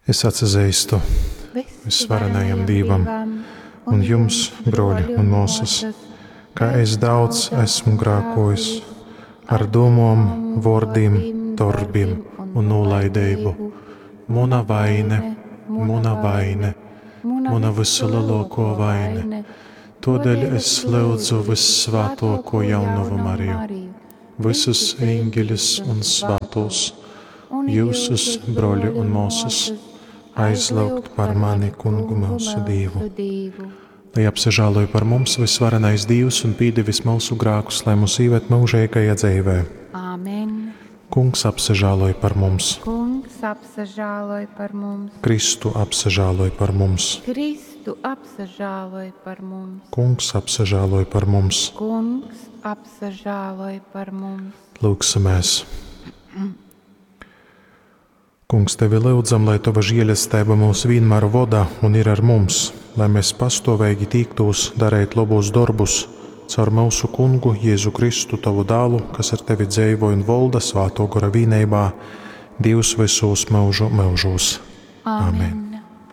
Es atsazeistu Vysvarenajam Dīvam un jums, brōļi un mōsas, ka es daudz esmu grākōjis ar dūmom, vōrdim, dorbim un nūlaideibu. Muna vaine, muna vaine, muna vysulelōkō vaine. Tōdēļ es lyudzu vyssvātōkū Jaunovu Mariju, vysus eņģeļus un svātūs, jūsus, brōļi un mōsas, aizlyugt par mani Kungu myusu Dīvu. Lai apsažāloj par mums vysvarenais Dīvs un pīdevis myusu grākus, lai mūs īved myužeigajā dzeivē. Āmen. Kungs apsažāloj par mums. Kungs apsažāloj par mums. Kristu apsažāloj par mums. Kristu apsažāloj par mums. Kungs apsažāloj par mums. Kungs apsažāloj par mums. Lūgsimies. Kungs, tevi lyudzam, lai tova žēlestība mūs vienmēr voda un ir ar mums, lai mēs pastāvīgi tīktūs darīt lobos darbus caur mūsu kungu Jēzu Kristu, tavu dālu, kas ar tevi dzīvo un volda svāto gora vīneibā, Dievs visos mūžu mūžos. Āmen. Amen.